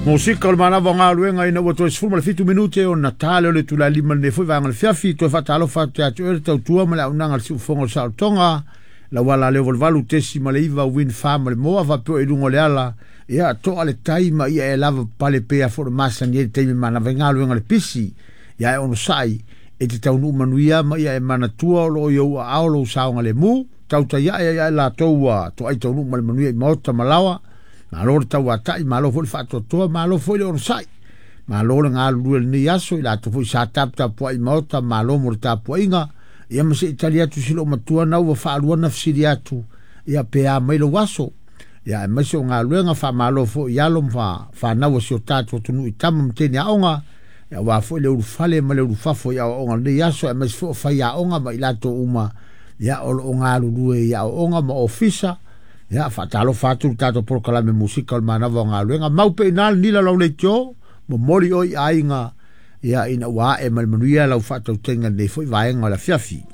Musika o le manava o galuega ina ua toe 17 minute ona ta lea o le itula e 5 i lenei foi vaega o le afiafi. Toe faatalofa atu ia te oe le tautua ma le auaunaga a le siufofoga o le saolotoga. Lau ala leo 88.9 Wind Farm ma le moa faapea i luga o le ala. Ia toa le tai ma ia e lava pale pea fo le masani ai le taimi manava i galuega le pisi. Ia e onosai e te taunuu manuia ma ia e manatua o loo i ou aao lou saogalemu. Tautai ae ai ae latou ua toai taunuu ma le manuia i maota ma laoa. Malo le tauatai, malo foi le faatoatoa, malo foi le onosai. Malo le galulue i lenei aso i latou foi sa taputapuai i maota, malo mo le tapuaiga. Ia ma se i tali atu si loomatua na ua faalua na fesili atu, ia pe a mai lou aso. Ia aemaise o galuega faamalo foi i alo ma fanau a si o tatou atunuu i tama ma teine aoga. Ia aua foi le ulufale ma le ulufafo i aoaoga o lenei aso, aemaise foi o faiaoga ma i latou uma ia o loo galulue i aoaoga ma ofisa. Ia faatalofa atu le tatou polokalame musika o le manava o galuega. Mau pe ina le nila lau leitio, momoli oi aiga, ia ina ua ae ma le manuia lau faatautaiga i lenei foi vaega o le afiafi.